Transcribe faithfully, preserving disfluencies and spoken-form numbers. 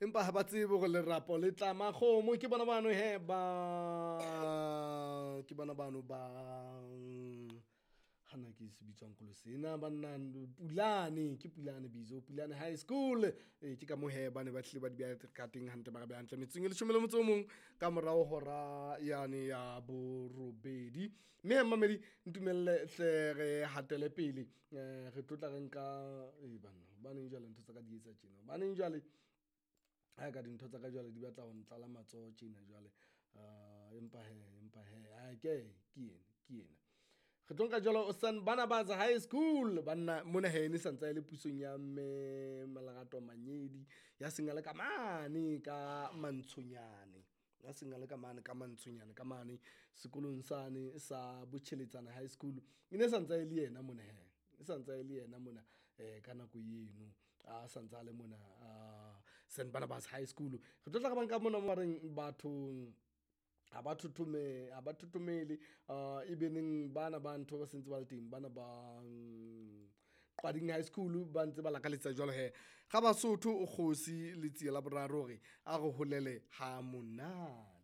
Empa ha ba tsebe hore lerapo le tlama kgomo. Ke bona bano he ba, ke bona bano ba hana ke se bitswang kolo sena banna Pulane, ke Pulane bizo Pulane High School. Ee, ke ka moo hee ba ne ba hlile ba di beha ka teng hantle, ba re beha hantle metsotsong e leshome le motso o mong ka morao hora yane ya borobedi. Mme hee mmamedi ntumelle hle re hatele pele re tlo tla re nka banna hobaneng jwale ntho tsa ka di etsa tjena, hobaneng jwale ha eka dintho tsa ka jwale di batla ho ntlala matsoho tjena jwale. Empa hee empa hee ke ke ena ke ena. Re tlo nka jwalo Saint Barnabas High School banna mona hee ne santsa e le pusong ya mme Malerato Manyedi ya seng a le ka mane ka Mantshonyane. Ya seng a le ka mane ka Mantshonyane ka mane sekolong sane sa Botjheletsana High School. E ne santsa e le yena mona hee, e santsa e le yena mona ka nako eno a santsa a le mona Saint Barnabas High School. Re tlo tla re ba nka mona mo ba reng bathong ha ba ha ba thothomele e be neng bana ba ntho ba sentse ba le teng bana ba Qwading High School ba ntse ba lakaletsa jwalo hee ga Basotho kgosi Letsie la boraro hore a re holele ha monate.